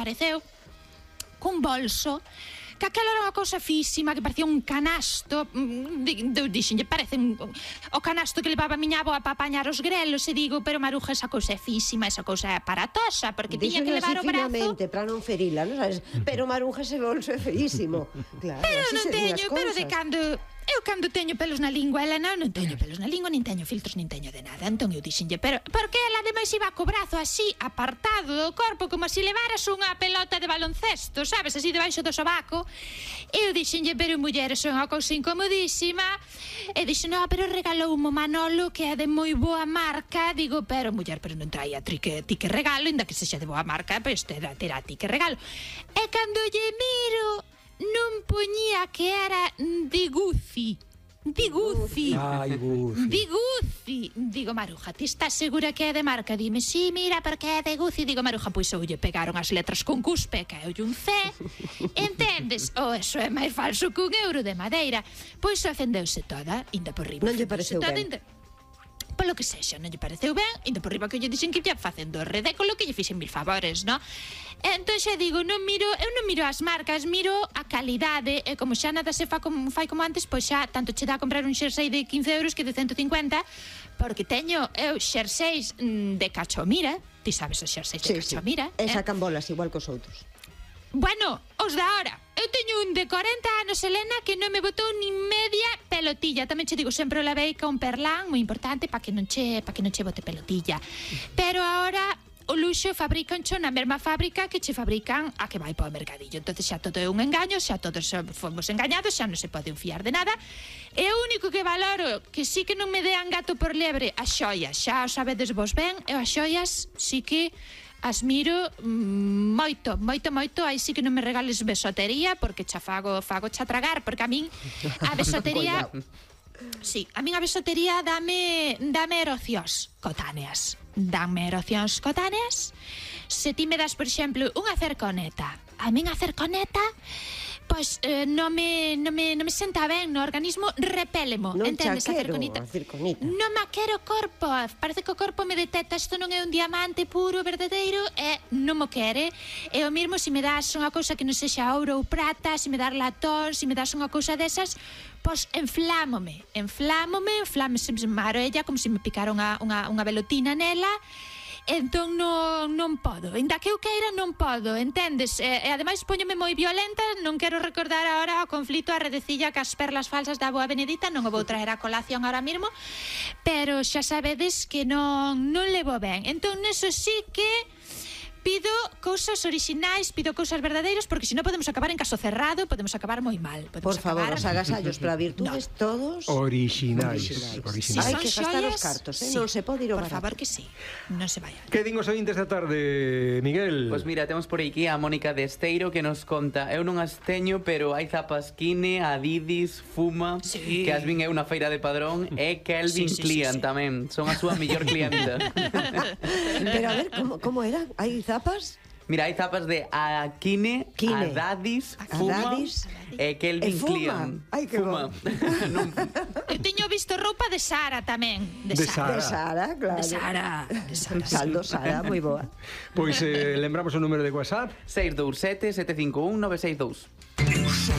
apareceu cun bolso que aquela era unha cousa físima, que parecía un canasto. Dixenlle, parece o canasto que levaba a miña avoa para apañar os grelos, e digo, pero Maruja, esa cousa é físima, esa cousa é aparatosa, porque tiña que levar o brazo. Finamente, para non ferila, non sabes? Pero Maruja, ese bolso é feísimo. Claro, pero non teño, pero de cando... Eu cando teño pelos na lingua, ela non teño pelos na lingua, nin teño filtros, nin teño de nada. Entón eu dixenlle, pero porque ela ademais iba co brazo así, apartado do corpo, como se levaras unha pelota de baloncesto, sabes, así debaixo do sobaco. Eu dixenlle, pero mulleres, son unha cousa incomodísima. E dixen, no, pero regalou un Manolo que é de moi boa marca. Digo, pero muller, pero non traía ti que regalo, ainda que sexa de boa marca, pois terá ti que regalo. E cando lle miro, non poñía que era de Gucci. De Gucci. Ai, Gucci. De Gucci. Digo, Maruja, ti estás segura que é de marca? Dime, sí, mira, porque é de Gucci. Digo, Maruja, pois oulle pegaron as letras con cuspe, caeulle un C. Entendes? Eso é máis falso que un euro de madeira. Pois ofendeuse toda, inda por riba. Non lle pareceu ben. Polo que sexa, non lle pareceu ben, inda por riba que lle dixen que lle facendo o ridículo, que lle fixen mil favores, non? Entón xa digo, eu non miro as marcas, miro a calidade, e como xa nada se fai como antes, pois xa tanto che dá a comprar un xersei de 15 euros que de 150, porque teño eu xerseis de Cachomira, ti sabes os xerseis de Cachomira? E sacan bolas igual que os outros. Bueno, os da hora. Eu teño un de 40 anos, Elena, que non me botou nin media pelotilla. Tamén che digo, sempre o lavei con perlán, moi importante, para que non che bote pelotilla. Pero agora o luxo fabricancho na mesma fábrica que che fabrican a que vai para o mercadillo. Entonces xa todo é un engaño, xa todos fomos engañados, xa non se pode fiar de nada. E o único que valoro, que sí que non me dean gato por lebre, as xoias, xa o sabedes vos ben, e as xoias sí que as miro moito, aí sí que non me regales besotería, porque xa fago xa tragar, porque a min a besotería sí, a min a besotería dame erocións cotáneas. Danme erocións cotáneas. Se ti me das, por exemplo, unha cerconeta, a min a cerconeta pois non me senta ben no organismo, repélemo, entendes? A cerconita. Non me quero corpo, parece que o corpo me detecta, isto non é un diamante puro, verdadeiro, e non mo quere. E o mesmo se me das unha cousa que non sexa ouro ou prata, se me das latón, se me das unha cousa desas, pois inflámome, se me maroella como se me picara unha velotina nela. Entón non podo, ainda que eu queira non podo, entendes? E ademais poñome moi violenta, non quero recordar agora o conflito, a redecilla que as perlas falsas da boa Benedita, non o vou traer a colación ahora mesmo, pero xa sabedes que non levo ben. Entón neso sí que pido cousas orixinais, pido cousas verdadeiras, porque senón podemos acabar en caso cerrado, podemos acabar moi mal. Por favor, os agasallos para virtudes todos orixinais. Hai que gastar os cartos, non se pode ir ao barato. Por favor que sí, non se vaya. Que din os ointes da tarde, Miguel? Pois mira, temos por aquí a Mónica de Esteiro que nos conta, eu non as teño, pero hai zapas Kine, Adidas, Fuma, que as vin eu na feira de Padrón, e Calvin Klein tamén, son a súa mellor clienta. Pero a ver, como era? Hai zapas? Mira, hai zapas de Kine, Adidas, Fuma e Calvin Klein. Ai, que bom. Eu teño visto roupa de Sara tamén. De Sara, claro. De Sara. Saldo Sara, moi boa. Pois lembramos o número de WhatsApp 627 751 962.